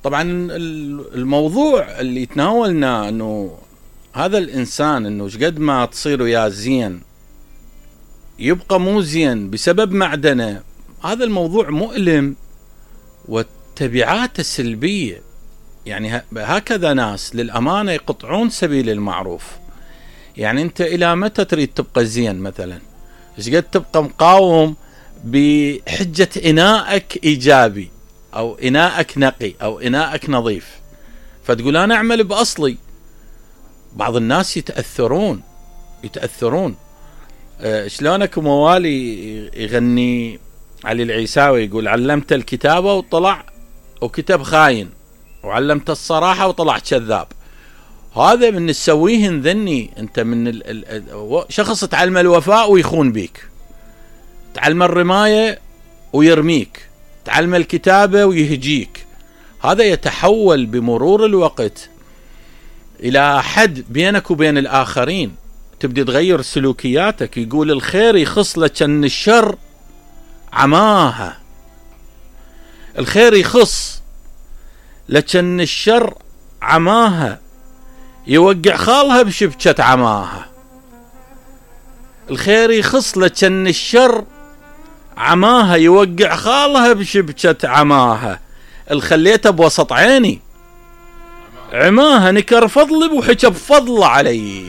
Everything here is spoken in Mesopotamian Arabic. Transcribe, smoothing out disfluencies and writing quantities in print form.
طبعا الموضوع اللي تناولناه انه هذا الانسان انه شقد ما تصير وياه زين يبقى مو زين بسبب معدنه، هذا الموضوع مؤلم وتبعاته سلبية. يعني هكذا ناس للأمانة يقطعون سبيل المعروف. يعني انت الى متى تريد تبقى زين؟ مثلا شقد تبقى مقاوم بحجة اناءك ايجابي او اناءك نقي او اناءك نظيف، فتقول انا اعمل باصلي. بعض الناس يتأثرون. شلونك موالي يغني علي العيساوي يقول علمت الكتابة وطلع وكتب خاين، وعلمت الصراحة وطلع كذاب. هذا من تسويه ذني انت من شخص تعلم الوفاء ويخون بيك، تعلم الرماية ويرميك، تعلم الكتابة ويهجيك. هذا يتحول بمرور الوقت الى حد بينك وبين الاخرين، تبدي تغير سلوكياتك. يقول الخير يخص لكن الشر عماها، الخير يخص لكن الشر عماها، يوقع خالها بشبكة عماها. الخير يخص لكن الشر عماها، يوقع خالها بشبكة عماها. الخليته بوسط عيني عماها، نكر فضلي وحكى بفضل علي.